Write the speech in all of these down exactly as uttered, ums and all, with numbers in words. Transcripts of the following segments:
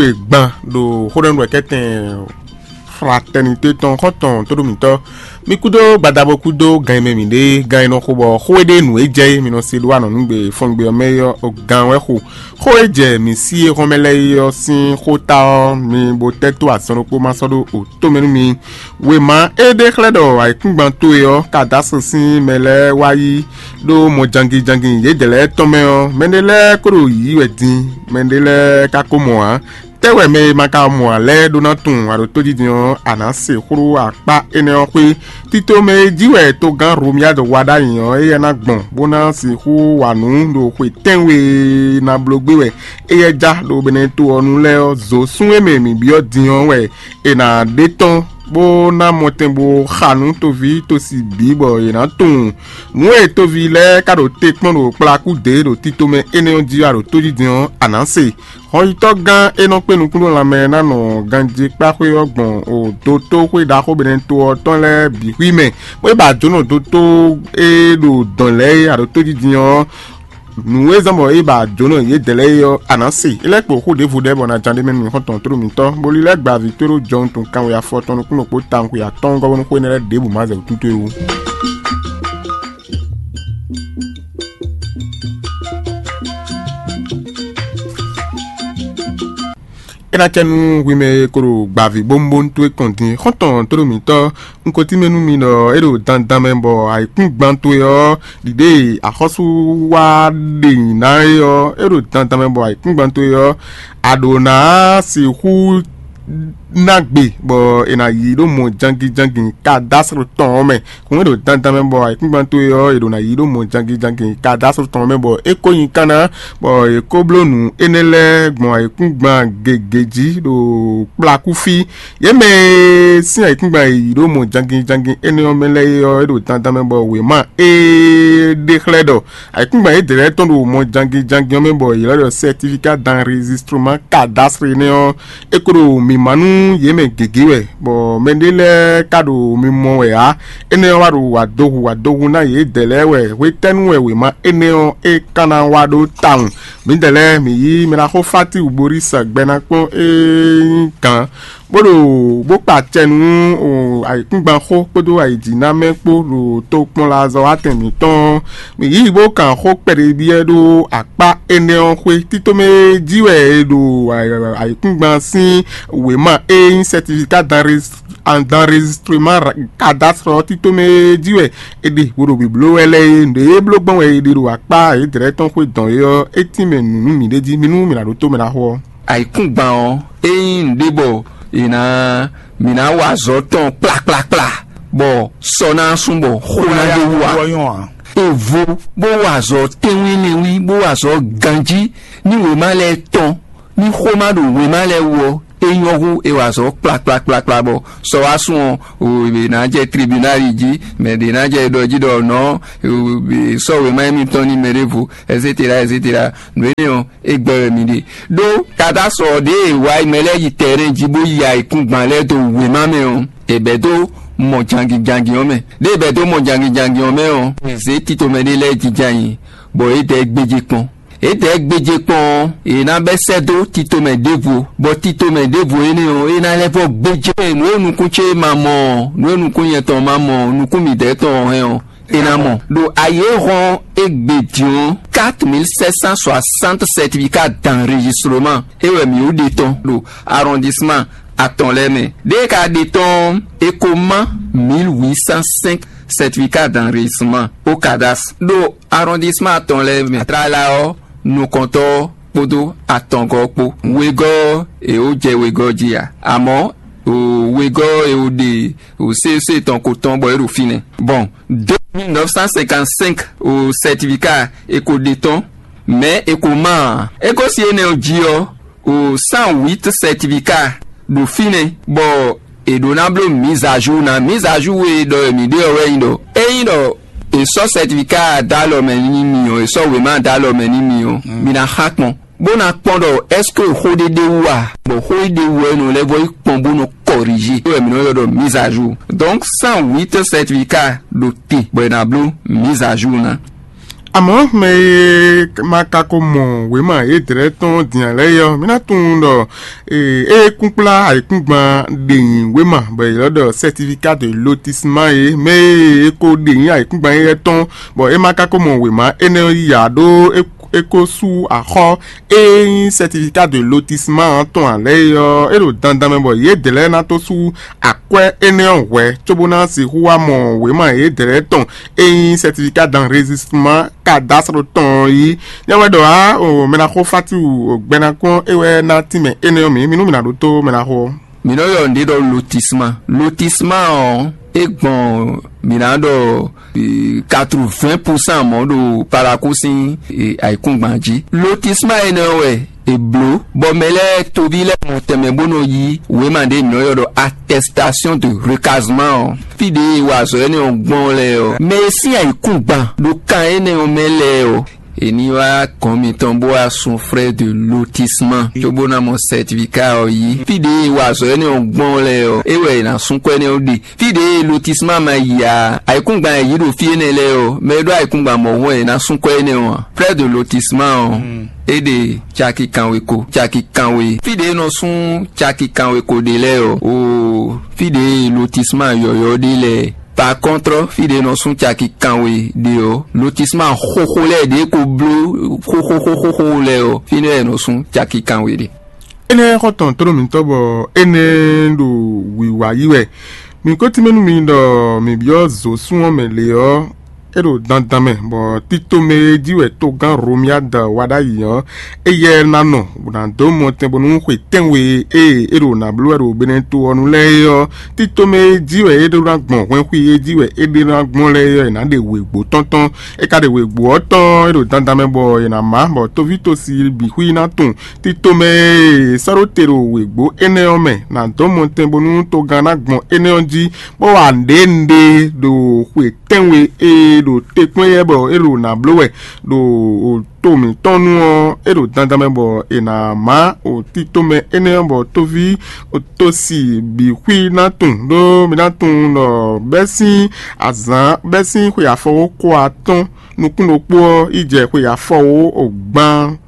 Xwe gban ɖo xóɖɛ́núɖɔkɛ́tɛn Fraternité tɔn xɔ́ntɔn tóɖó mǐtɔn. Mi kúdó gbadabo kúdó gan e mɛ mǐ ɖe, gan e nɔ xo bɔ xó e ɖe nǔ e jɛ é mi nɔ se ɖó anɔ̌nugbe fɔngbe ɔ́ mɛ é ɔ́, gan wɛ xo. Xó e jɛ mǐ sí e hɔn mɛ lɛ́ɛ é ɔ́ sín xó ta ɔ́, mi bo tɛ́ tó azɔn ɖokpó ma sɔ́ ɖó o tó mɛ nú mi. Wěma e ɖe xlɛ́ ɖɔ ayǐkúngban towe ɔ́ ka dó asɔ sín mɛ lɛ́ɛ wá yí ɖó mɔ jangijangi yědɛɛ lɛ́ɛ tɔn mɛ ɔ́, mɛɖé lɛ́ɛ ko ɖo yǐyí wɛ din, mɛɖé lɛ́ɛ ka ko mɔ ǎ. Tɛ́ wɛ mɛ e ma ka mɔ ǎ lɛ́ɛ ɖó ná tunwun aɖótójijɛ ɔ́, a nǎ se xlú akpá énɛ́ ɔ́ xwé. Tito mɛ e jí wɛ togán Romiyádu wa ɖ'ayǐ ɔ́, éyɛ́ ná gbɔn, bó ná sixú wa nǔ ɖo xwe tɛ́nwe e ná bló gbé wɛ éyɛ́ já ɖo Benɛto ɔ́ nu lɛ́ɛ ɔ́. Zǒsún e mɛ mǐ byɔ́ din ɔ́ wɛ è nǎ ɖe tɔ́n, bó ná mɔtɛn bó xa nú toví tosi bǐ bɔ yě ná tunwun nǔ e toví lɛ́ɛ ka ɖo te kpɔ́n ɖo kplakú dě ɖo tito mɛ énɛ́ ɔ́ jí wɛ aɖǒtójijɛ ɔ́, a nǎ se. Hɔnyitɔ́gán e nɔ kpé nukúnnú lanmɛ ná nɔ ganjí kpáxwé ɔ́ gbɔn o dotóxwé ɖaxó Benɛto ɔ́ tɔn lɛ́ɛ bǐ xwí mɛ, bó é ba jǒnɔ dotó e ɖo dɔ̌n lɛ́ɛ é aɖǒtójijɛ ɔ́, nǔ e zɔ́n bɔ é ba jǒnɔ yědɛɛ lɛ́ɛ é ɔ́, a nǎ se. É lɛ́ kpo xó ɖěvo ɖɛ́ bɔ ná ján ɖ'é mɛ nú mì xɔ́ntɔn tlóló mǐtɔn, bó lílɛ́ gba vǐ tóɖó jɔwun tɔn kanwe afɔ tɔn nukúnnú kpó tawun xwe atɔ́ɔ́ngɔ́ bónú xó énɛ́ lɛ́ɛ ɖěbǔ ma zɛ wǔtútú é wú. É ná cɛ nú hwi mɛ e ko ɖo gbǎví bónúbónú towe kɔn din. Xɔ́ntɔn tóɖó mǐtɔn, un ko tínmɛ nú mi ɖɔ é ɖo dandan mɛ bɔ ayǐkúngban towe ɔ́, ɖiɖe e axɔ́sú wa ɖe nyi ná é ɔ́, é ɖo dandan mɛ bɔ ayǐkúngban towe ɔ́, a ɖǒ ná sixú ná gbe bɔ è nǎ yí ɖó mɔ jangijangi kadásr tɔn ɔ́ mɛ. Hǔn e ɖo dandan mɛ bɔ ayǐkúngban towe ɔ́, è ɖǒ ná yí ɖó mɔ jangijangi kadásr tɔn ɔ́ mɛ bɔ é kó nyi kanna, bɔ è kó bló nǔ énɛ́ lɛ́ɛ gbɔn ayǐkúngban gěgé jí ɖo kplakúfí. Yě mɛ e sín ayǐkúngban e yí ɖó mɔ jangijangi énɛ́ ɔ́ mɛ lɛ́ɛ é ɔ́, é ɖo dandan mɛ bɔ wěma e ɖe xlɛ́ ɖɔ ayǐkúngban yědɛɛ lɛ́ɛ tɔn ɖo mɔ jangijangi ɔ́ mɛ bɔ yě lɛ́ ɖɔ certificat d'enregistrement cadastre énɛ́ ɔ́, é ko ɖo mǐmá nú yě mɛ gěgé wɛ, bɔ mɛɖé lɛ́ɛ ka ɖo mimɔ wɛ ǎ. Énɛ́ ɔ́ wá ɖo wǎdohu wǎdohu ná yědɛɛ lɛ́ɛ wɛ. Hwetɛ́nu wɛ wěma énɛ́ ɔ́ é ka ná wá ɖó tawun? Mǐdɛɛ lɛ́ɛ mǐ yí mɛ ná xó Fáti Uborísa gbɛ ná kpɔ́n é nyí gǎn, bó ɖo bó kpa acɛ nú ayǐkúngban xó kpódó ayǐjínamɛ kpó ɖo tokpɔnlazɔ́watɛn mǐtɔn. Mǐ yí bó kan xó kpɛɖebyɛ́ ɖó akpá énɛ́ ɔ́ xwé. Títomɛ jí wɛ è ɖo ayǐkúngban sín wěma e nyí certificat d'enregistrement cadastre ɔ́, títomɛ jí wɛ è ɖe bó ɖo bǐbló wɛ lɛ́ɛ é. Nǔ e bló gbɔn wɛ è ɖe ɖo akpá yědɛɛ tɔn xwé dɔn é ɔ́, é tínmɛ nǔ nú mǐ ɖ'é jí. Mi nú mǐ ná ɖótó mɛ ná xo ɔ́. Ayǐkúngban ɔ́, é nyí nǔɖé bɔ è nǎ mǐ ná wa azɔ̌ tɔn kplakplakpla, bɔ sɔ ná sú bɔ xó ná ɖó wú ǎ. Evo bó wa azɔ̌ tɛ́nwínlɛ́nwín, bó wa azɔ̌ ganjí ní wěma lɛ́ɛ tɔn, ní xó ma ɖo wěma lɛ́ɛ wú ɔ́, é nyɔ́ hú è wa azɔ̌ kplakplakplakpla bɔ sɔ wá sú ɔ́, è nǎ jɛ tribunali jí, mɛ ɖě ná jɛ ɖɔ jí ɖɔ nɔ̌ sɔ́ wěma émítɔn ní mɛ ɖěvo, etcetera etcetera. Nǔ énɛ́ ɔ́, é gbɛ́ wɛ mi ɖe. Ɖó katási ɔ́ ɖěe è wá yi mɛ lɛ́ɛ yi tɛ̌rɛn jí bó yi ayǐkúngban lɛ́ɛ dó wěma mɛ ɔ́, è bɛ̌ dó mɔ jangijangi ɔ́ mɛ. Ɖěe è bɛ̌ dó mɔ jangijangi ɔ́ mɛ ɔ́, è zě tito mɛ ɖé lɛ́ɛ jínjɔ́n ayǐ, bɔ é dɛ gbéjé kpɔ́n. É dɛ gbéjé kpɔ́n ɔ́, è nǎ bɛ́ sɛ́ dó tito mɛ ɖěvo, bɔ tito mɛ ɖěvo énɛ́ ɔ́, é ná lɛ́ vɔ́ gbéjé. Nǔ e nukún ce ma mɔ ɔ́, nǔ e nukún nyɛ tɔn ma mɔ ɔ́, nukún mǐdɛɛ tɔn ɔ́ hɛn ɔ́, è nǎ mɔ. Ɖo ayǐ e hɔn égbé din ɔ́, quatre mille sept cent soixante certificat d'enregistrement é wɛ mǐ wú ɖe tɔn ɖo arrondissement atɔn lɛ́ɛ mɛ. Ɖěe ka ɖe tɔn ɔ́, è ko má mille huit cent cinq certificat d'enregistrement au cadastre ɖo arrondissement atɔn lɛ́ɛ mɛ. Tlala ɔ́, nukɔntɔ́ ɔ́ kpódó atɔngɔ́ ɔ́ kpó. Wegɔ́ ɔ́, è wǒ jɛ wegɔ́ jí ǎ. Amɔ̌, wegɔ́ ɔ́, è wǒ ɖe C C tɔn ko tɔn bɔ é ɖo fínɛ́. Bon, deux mille neuf cent cinquante-cinq o certificat è ko ɖe tɔn, mɛ̌ è ko má ǎ. É gosín énɛ́ ɔ́ jí ɔ́, o cent huit certificat ɖo fínɛ́, bɔ è ɖǒ ná bló mise à jour ná. Mise à jour e ɖɔ mǐ ɖe ɔ́ wɛ nyí ɖɔ, ényí ɖɔ è sɔ́ certificat dó alɔ mɛ n'i mì ɔ́, è sɔ́ wěma dó alɔ mɛ n'i mì ɔ́, mi ná xá kpɔn, bó ná kpɔ́n ɖɔ est-ce que xó ɖé ɖ'é wú a? Bɔ xó e ɖ'é wú ɔ́, é nɔ lɛ́ vɔ yi kpɔ́n bó nɔ kɔrizi. É wɛ mǐ nɔ ylɔ́ ɖɔ mise à jour. Donc cent huit certificat ɖo te bɔ è nǎ bló mise à jour ná. Amɔ̌ mɛ e ma ka ko mɔ wěma yědɛ́lɛ́ tɔn din ǎ lɛ́ɛ é ɔ́, mì ná tunwun ɖɔ é kúnkplá ayǐkúngban ɖe nyi wěma bɔ è ylɔ́ ɖɔ certificat de lotissement é. Mɛ e è ko ɖe nyi ayǐkúngban éyɛ́ tɔn bɔ é ma ka ko mɔ wěma énɛ́ ɔ́ yí ǎ, ɖó é ko sú axɔ́ e nyí certificat de lotissement ɔ́ tɔn ǎ lɛ́ɛ é ɔ́, é ɖo dandan mɛ bɔ yědɛ́lɛ́ ná tó sú akwɛ́ énɛ́ ɔ́ hwɛ̌ cóbó ná sixú wá mɔ wěma yědɛ́lɛ́ tɔn e nyí certificat d'enregistrement cadastre tɔn ɔ́ yí. Nyɛ wɛ ɖɔ ǎ, o mɛ ná xo fátiwu gbɛnakɔn é wɛ ná tínmɛ énɛ́ ɔ́ mǐ mínú mǐ ná ɖótó mɛ ná xo ɔ́. Mǐ nɔ ylɔ́ nǔɖé ɖɔ lotissement. Lotissement ɔ́, é gbɔn mǐ ná ɖɔ quatre-vingts pour cent mɔ̌ ɖo Parakou sín ayǐkúngban jí. Lotissement énɛ́ ɔ́ wɛ è blǒ bɔ mɛ lɛ́ɛ toví lɛ́ɛ mɔ tɛnmɛ bó nɔ yí wěma ɖé mǐ nɔ ylɔ́ ɖɔ attestation de recasement ɔ́. Fí ɖě e wa azɔ̌ énɛ́ ɔ́ gbɔn lɛ́ɛ ɔ́, mɛ e sín ayǐkúngban ɖo kan énɛ́ ɔ́ mɛ lɛ́ɛ ɔ́, è ní wá gɔ̌n mitɔn bó wá sun frais de lotissement cóbó ná mɔ certificat ɔ́ yí. Fí ɖě e wa azɔ̌ énɛ́ ɔ́ gbɔn lɛ́ɛ ɔ́, é wɛ è nǎ sún kɔ énɛ́ ɔ́ ɖe. Fí ɖě e lotissement ma yi ǎ, ayǐkúngban e yě ɖo fí énɛ́ lɛ́ɛ ɔ́, mɛ e ɖó ayǐkúngban mɔ̌hun wɛ è nǎ sún kɔ énɛ́ ɔ́ ǎ. Frais de lotissement ɔ́, é ɖe caki kanwe ko, caki kanwe. Fí ɖě e nɔ sún caki kanwe ko ɖe lɛ́ɛ ɔ́, o fí ɖě e lotissement yɔ̌yɔ́ ɖe lɛ́ɛ. Par contre, fí ɖě e nɔ sún caki kanwe ɖe ɔ́, lotissement xóxó lɛ́ɛ ɖě ko bló xóxóxóxóxó lɛ́ɛ ɔ́, fínɛ́ wɛ è nɔ sún caki kanwe ɖe. Énɛ́ xɔ tɔn tló mǐtɔn bɔ énɛ́ ɖo wǐwá yí wɛ. Mǐ ko tínmɛ nú mi ɖɔ mǐ byɔ́ zǒsún ɔ́ mɛ lě ɔ́, é ɖo dandan mɛ, bɔ tito mɛ e jí wɛ togán Romiad wa ɖ'ayǐ ɔ́, éyɛ́ ná nɔ, bó ná dó mɔtɛn bónú xwe tɛ́nwe e é ɖo nǎ bló wɛ ɖo Beneto ɔ́ nu lɛ́ɛ é ɔ́, tito mɛ e jí wɛ é ɖó ná gbɔn hwɛnxwi e jí wɛ é ɖe ná gbɔn lɛ́ɛ é ɔ́, è nǎ ɖe wěgbó tɔn tɔn. É ka ɖe wěgbó ɔ́ tɔn, é ɖo dandan mɛ bɔ è nǎ má, bɔ toví tosi bǐ xwí ná tunwun. Tito mɛ e è sɔ́ ɖó te ɖo wěgbó énɛ́ ɔ́ mɛ ná dɔn mɔtɛn bónú togán ná gbɔn énɛ́ ɔ́ jí, bó wa nǔɖé nǔɖé ɖo xwe tɛ́nwe e ɖo te kpɔ́n éyɛ́ bɔ é ɖo nǎ bló wɛ ɖo to mǐtɔn nu ɔ́, é ɖo dandan mɛ bɔ è nǎ má o tito mɛ énɛ́ ɔ́ bɔ toví tosi bǐ xwí ná tunwun, ɖó mi ná tunwun ɖɔ bɛ́ sín azǎn bɛ́ sín xwe afɔwóxo atɔ́ɔ́n nukún ɖokpó ɔ́ yi jɛ xwe afɔwó gban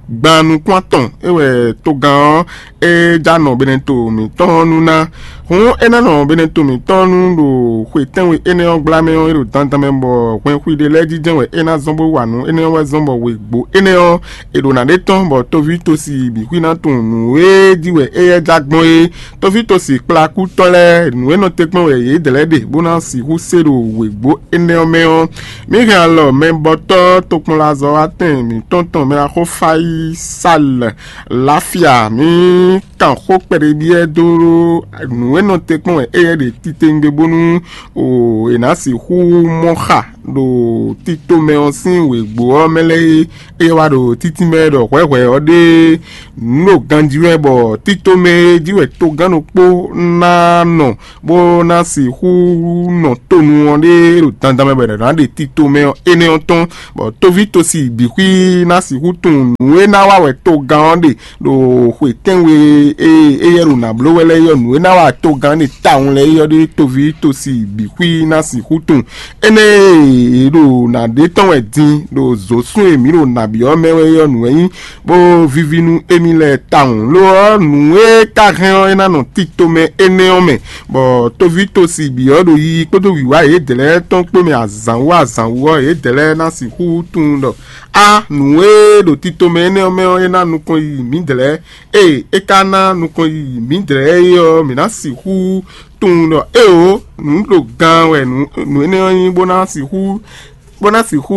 gban nukún atɔn é wɛ togán ɔ́ é já nɔ Beneto mǐtɔn ɔ́ nu ná. Hǔn é ná nɔ Beneto mǐtɔn nu ɖo xwe tɛ́nwe énɛ́ ɔ́ gbla mɛ ɔ́, é ɖo dandan mɛ bɔ hwɛnxwi ɖé lɛ́ɛ jínjɛ́n wɛ é ná zɔ́n bó wa nǔ énɛ́ ɔ́ wɛ zɔ́n bɔ wěgbó énɛ́ ɔ́, è ɖo nǎ ɖe tɔ́n bɔ toví tosi bǐ xwí ná tunwun nǔ e jí wɛ éyɛ́ já gbɔn é. Toví tosi kplakútɔ́ lɛ́ɛ, nǔ e nɔ te kpɔ́n wɛ yě dlɛ̌ ɖe bó ná sixú se ɖo wěgbó énɛ́ ɔ́ mɛ ɔ́, mǐ hɛn alɔ mɛbɔtɔ́ tokpɔnlazɔ́watɛn mǐtɔn tɔn mɛ axó Fayisal Lafia, mǐ kan xó kpɛɖébyɛ́ dó nǔ e nɔ te kpɔ́n wɛ éyɛ́ ɖe titewungbe bónú è nǎ sixú mɔ xa ɖo tito mɛ ɔ́ sín wěgbó ɔ́ mɛ lɛ́ɛ é. Ée wá ɖo títí mɛ ɖɔ hwɛ̌hwɛ́ ɔ́ ɖe nǔ ɖo ganjí wɛ bɔ tito mɛ e jí wɛ togán ɖokpó ná nɔ bó ná sixú nɔ tonu ɔ́ ɖe ɖo dandan mɛ bɔ è nǎ ɖe tito mɛ ɔ́ énɛ́ ɔ́ tɔn, bɔ toví tosi bǐ xwí ná sixú tunwun nǔ e ná wa wɛ togán ɔ́ ɖe ɖo xwe tɛ́nwe e éyɛ́ ɖo nǎ bló wɛ lɛ́ɛ é ɔ́, nǔ e ná wa togán ɖe tawun lɛ́ɛ é ɔ́ ɖe toví tosi bǐ xwí ná sixú tunwun. Énɛ́ e è ɖo nǎ ɖe tɔn wɛ din ɖo zǒsún e mǐ ɖo nǎ byɔ́ mɛ wɛ é ɔ́, nǔ wɛ nyí bó víví nú émí lɛ́ɛ tawun. Lo ɔ́, nǔ e ka hɛn ɔ́, é ná nɔ tito mɛ énɛ́ ɔ́ mɛ, bɔ toví tosi bǐ ɔ́ ɖo yiyi kpódó wǐwá yědɛɛ lɛ́ɛ tɔn kpó mɛ azǎn wú azǎn wú ɔ́, yědɛɛ lɛ́ɛ ná sixú tunwun ɖɔ á nǔ e ɖo tito mɛ énɛ́ ɔ́ mɛ ɔ́, é ná nukɔn yiyi mǐdɛɛ lɛ́ɛ. Ée é ka ná nukɔn yiyi mǐdɛɛ lɛ́ɛ é ɔ́, mǐ ná sixú tunwun ɖɔ éeǒ, nǔ ɖo gan wɛ nǔ énɛ́ ɔ́ nyí bó ná sixú bó ná sixú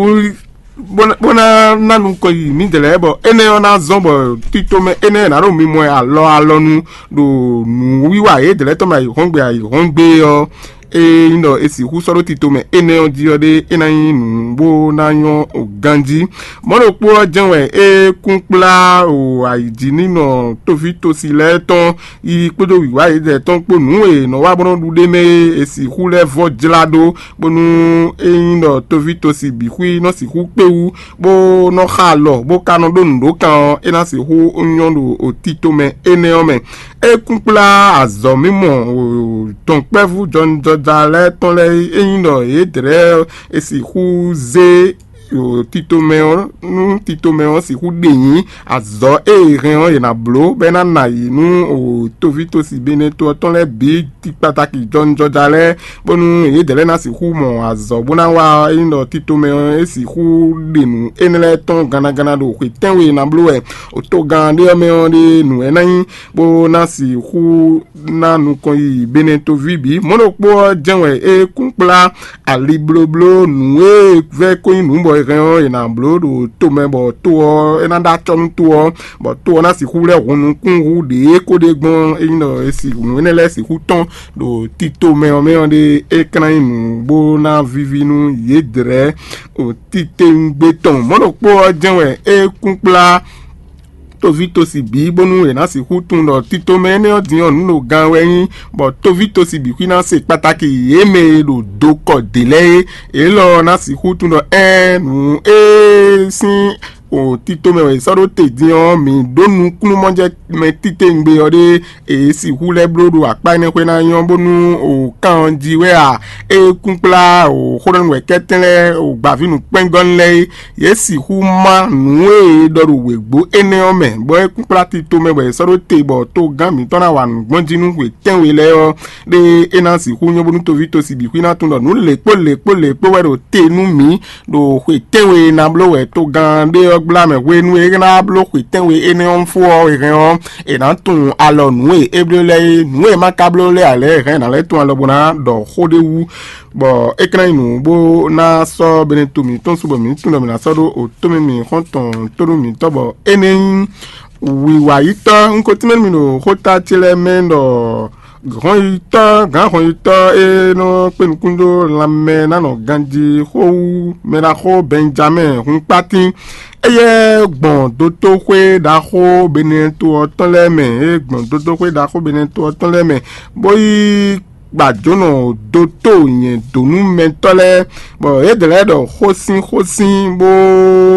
bó ná ná nukɔn yi mǐdɛɛ lɛ́ɛ bɔ énɛ́ ɔ́ ná zɔ́n bɔ tito mɛ énɛ́ ná ɖo mimɔ alɔ alɔnu ɖo nǔwiwa yědɛɛ lɛ́ɛ tɔn mɛ ayǐhɔ́ngbe ayǐhɔ́ngbe ɔ́, é nyí ɖɔ è sixú sɔ́ ɖó tito mɛ énɛ́ ɔ́ jí ɔ́ ɖé, é ná nyí nǔ bó ná nyɔ́ ganjí. Mɔ̌ ɖokpó ɔ́ jɛ́n wɛ é kún kplá o ayǐjínínɔ tófítosi lɛ́ɛ tɔn yi kpódó wǐwá yědɛɛ tɔn kpó nǔ e è nɔ wa bó nɔ́ ɖu ɖ'é mɛ é, è sixú lɛ́ vɔ́ jlá ɖó bónú ényí ɖɔ tóví tosi bǐ xwí nɔ sixú kpé wú, bó nɔ xa alɔ, bó ka nɔ ɖó nǔ ɖó kan ɔ́, é ná sixú nyɔ́ ɖo tito mɛ énɛ́ ɔ́ mɛ. É kún kplá azɔ̌ mímɔ dɔ̌nkpɛ́vú jɔnijɔja lɛ́ɛ tɔn lɛ́ɛ, ényí ɖɔ yě dlɛ̌ è sixú zé titomɛ ɔ́, nú titomɛ ɔ́ sixú ɖe nyǐ azɔ̌ e è hɛn ɔ́, è nǎ bló bɔ é ná na yě nú toví tosi Benɛto ɔ́ tɔn lɛ́ɛ bǐ tikpatakí jɔnijɔja lɛ́ɛ, bónú yědɛɛ lɛ́ɛ ná sixú mɔ azɔ̌ bó ná wa. Ényí ɖɔ titomɛ ɔ́ é sixú ɖe nǔ énɛ́ lɛ́ɛ tɔn gannaganna ɖo xwě tɛ́nwe e ná bló wɛ togán ɖé ɔ́ mɛ ɔ́ ɖe nǔ wɛ ná nyí, bó ná sixú ná nukɔn yiyi Benɛtoví bǐ. Mɔ̌ ɖokpó ɔ́ jɛ́n wɛ é kún kplá ali blóbló nǔ e vɛ́ ko nyí nǔ bɔ è hɛn ɔ́, è nǎ bló ɖo to mɛ bɔ to ɔ́ é ná ɖó acɔ́ nú to ɔ́, bɔ to ɔ́ ná sixú lɛ́ hun nukún hú ɖě ko ɖe gbɔn é nyí ɖɔ è si nǔ énɛ́ lɛ́ɛ sixú tɔ́n ɖo tito mɛ ɔ́ mɛ ɔ́ ɖe. É ka ná nyí nǔ bó ná víví nú yědɛɛ ɖo titewungbe tɔn. Mɔ̌ ɖokpó ɔ́ jɛ́n wɛ é kún kplá tovítɔ́sibǐ bónú è nǎ sixú tunwun ɖɔ tito mɛ énɛ́ ɔ́ din ɔ́ nǔ ɖo gan wɛ nyí, bɔ tovítɔ́sibǐ xwí ná se kpatáki yě mɛ e ɖo dokɔ dě lɛ́ɛ é. Élɔ́ ɔ́ ná sixú tunwun ɖɔ ɛ́n nǔ e sín o tito mɛ wɛ è sɔ́ ɖó te din ɔ́, mǐ ɖó nukúnnú mɔjɛ́ mɛ titewungbe ɔ́ ɖé e sixú lɛ́ bló ɖo akpá énɛ́ xwé ná nyɔ́ bónú o kan ɔ́ jí wɛ a? É kún kplá o xó ɖɔ nú wɛ kɛ́tɛ́n lɛ́ɛ o gbǎví nǔkpɛ́ngɔ́nú lɛ́ɛ é. Yě sixú má nǔ e è ɖɔ ɖo wěgbó énɛ́ ɔ́ mɛ, bɔ é kún kplá tito mɛ bɔ è sɔ́ ɖó te bɔ togán mǐtɔn ná wa nǔ gbɔn jí nú xwe tɛ́nwe lɛ́ɛ ɔ́, ɖé é ná sixú nyɔ́ bónú toví tosi bǐ xwí ná tunwun ɖɔ nǔ lěkpó lěkpó lěkpó wɛ ɖo te nú mǐ ɖo xwe tɛ́nwe e ná bló wɛ togán ɖé ɔ́ gbla mɛ hwenu e é ná bló xwe tɛ́nwe énɛ́ ɔ́ fó ɔ́. È hɛn ɔ́, è nǎ tunwun alɔ nǔ e é bló lɛ́ɛ é. Nǔ e ma ka bló lɛ́ɛ ǎ lɛ́ɛ, è hɛn è nǎ lɛ́ tunwun alɔ bó ná ɖɔ xó ɖé wú, bɔ é ka ná nyí nǔ bó ná sɔ́ Benɛto mǐtɔn su bɔ mǐ tunwun ɖɔ mǐ ná sɔ́ ɖó otó mɛ mǐ xɔ́ntɔn tónú mǐtɔn, bɔ énɛ́ nyí wǐwayítɔ́. Un ko tínmɛ nú mì ɖo xóta ce lɛ́ɛ mɛ ɖɔ hɔnyitɔ́, gǎn hɔnyitɔ́ e nɔ kpé nukún dó lanmɛ ná nɔ ganjí xó wú mɛ ɖaxó Bɛnjamɛ́ɛ hun kpátín. Éyɛ́ gbɔn dotóxwé ɖaxó Benɛto ɔ́ tɔn lɛ́ɛ mɛ, é gbɔn dotóxwé ɖaxó Benɛto ɔ́ tɔn lɛ́ɛ mɛ, bó yi gbajǒnɔ dótó nyɛ̌dónúmɛtɔ́ lɛ́ɛ, bɔ yě dlɛ̌ ɖɔ xósin xósin bó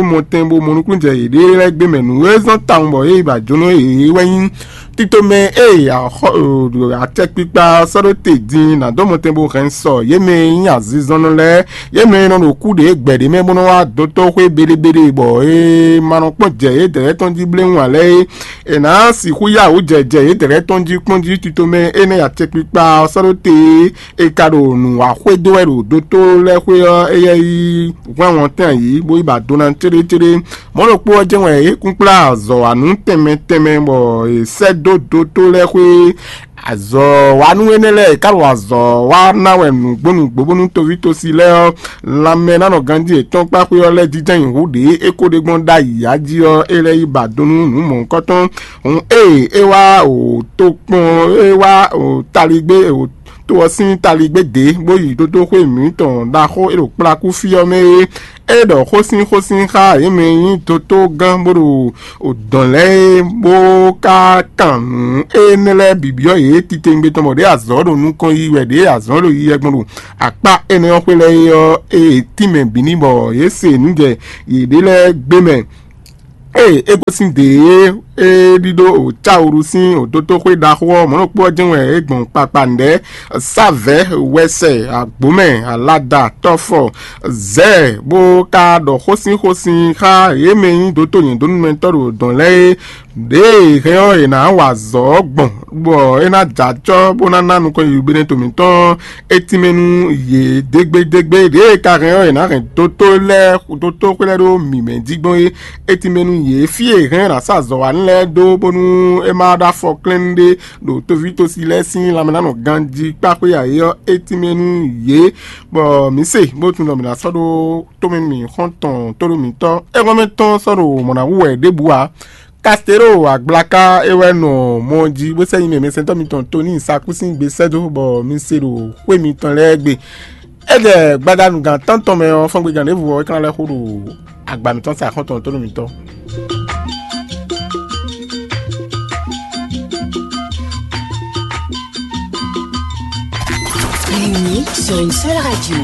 mɔtɛn bó mɔ nukúnnú jɛ yěɖée lɛ́ɛ gbé mɛ nǔ e zɔ́n tawun bɔ yě yi ba jónɔ yě wɛ nyí tito mɛ e acɛkpikpa sɔ́ ɖó te din nǎ dó mɔtɛn bó hɛn sɔ yě mɛ e nyí azinzɔnnɔ lɛ́ɛ, yě mɛ e nɔ ɖo kú ɖě gbɛ̌ ɖé mɛ bó nɔ wá dotó xwé beɖebeɖe bɔ é ma nɔ kpɔ́n jɛ yě dlɛ̌ tɔn jí bléwún ǎ lɛ́ɛ é. È nǎ sixú yá wǔ jɛ jɛ yě dlɛ̌ tɔn jí kpɔ́n jí tito mɛ énɛ́ acɛkpikpa ɔ́ sɔ́ ɖó te é. È ka ɖo nǔ wa xwedó wɛ ɖo dotó lɛ́ɛ xwé ɔ́, éyɛ́ yi hwɛ́n wɔntɛn ayǐ, bó yi ba do ná céɖécéɖé. Mɔ̌ ɖokpó ɔ́ jɛ́n wɛ é kún kplá azɔ̌wanú tɛnmɛ tɛnmɛ bɔ è sɛ́ dó dotó lɛ́ɛ xwé. Azɔ̌wanú énɛ́ lɛ́ɛ è ka ɖo azɔ̌ wa ná wɛ nǔgbó nǔgbó bónú toví tosi lɛ́ɛ ɔ́, lanmɛ ná nɔ ganjí yětɔn kpá xwé ɔ́ lɛ́ɛ jínjɔ́n nyi hǔ ɖě é ko ɖe gbɔn ɖ'ayǐ jí ɔ́, é lɛ́ yi ba do nú nǔ mɔ̌hunkɔtɔn. Hǔn ée é wá o tokpɔn é wá o taligbé o to ɔ́ sín taligbé dě, bó yi dódó xwé mǐtɔn ɖaxó e ɖo kplakú fí ɔ́ mɛ é. É ɖɔ xósínxósín xá yě mɛ e nyí dotó gán bó ɖo dɔ̌n lɛ́ɛ é, bó ka kan nǔ énɛ́ lɛ́ɛ bǐ byɔ́ yě titewungbe tɔn bɔ ɖěe azɔ̌ ɖo nukɔn yi wɛ ɖěe azɔ̌ ɖo yi wɛ gbɔn ɖo akpá énɛ́ ɔ́ xwé lɛ́ɛ é ɔ́, é tínmɛ bǐ ní bɔ yě se nǔ jɛ yěɖée lɛ́ɛ gbé mɛ. Ée é gosín dě e é ɖíɖó o cáwuru sín o dótóxwé ɖaxó ɔ́, mɔ̌ ɖokpó ɔ́ jɛ́n wɛ é gbɔn kpakpa nǔɖé sávɛ̌, wɛsɛ, agbǒmɛ, alada, tɔ́fɔ, zɛ̌, bó ka ɖɔ xósínxósín xá yě mɛ e nyí dótó nyɛ̌dónúmɛtɔ́ ɖo dɔ̌n lɛ́ɛ é. Ɖěe è hɛn ɔ́, è nǎ wa azɔ̌ ɔ́ gbɔn, bɔ é ná jɛ acɔ́ bó ná ná nukɔn yiyi Benɛto mǐtɔn ɔ́, é tínmɛ nú yě dégbédégbé. Ɖěe è ka hɛn ɔ́, è nǎ hɛn dótó lɛ́ɛ dótó xwlɛ́ ɖó mǐmɛ́ jí gbɔn é. É tínmɛ nú yě fí e è hɛn ɔ́ è nǎ sa azɔ̌wanú lɛ́ɛ dó bónú é má ɖó afɔ klɛ́nnu ɖé ɖo toví tosi lɛ́ɛ sín lanmɛ ná nɔ ganjí kpá xwé ayé ɔ́. É tínmɛ nú yě, bɔ mǐ se bó tunwun ɖɔ mǐ ná sɔ́ ɖó tómɛ mǐ xɔ́ntɔn tóɖó mǐtɔn é hɔn mɛ tɔn sɔ́ ɖo mɔ̌ ná wú wɛ ɖěbǔ ǎ. Kastero agblaka é wɛ nɔ mɔ jí bó sɛ́ nyi mɛ mɛsɛntɔ́ mitɔn Toni Sakúsín gbe sɛ́ dó bɔ mi se ɖo xwé mitɔn lɛ́ɛ gbe. É jɛ gbadanu gǎn tántɔn mɛ ɔ́, fɔ́ngbegán ɖěvo ɔ́ é ka ná lɛ́ xo ɖo agba mǐtɔn sa xɔ́ntɔn tónú mǐtɔn. Réunis sur une seule radio.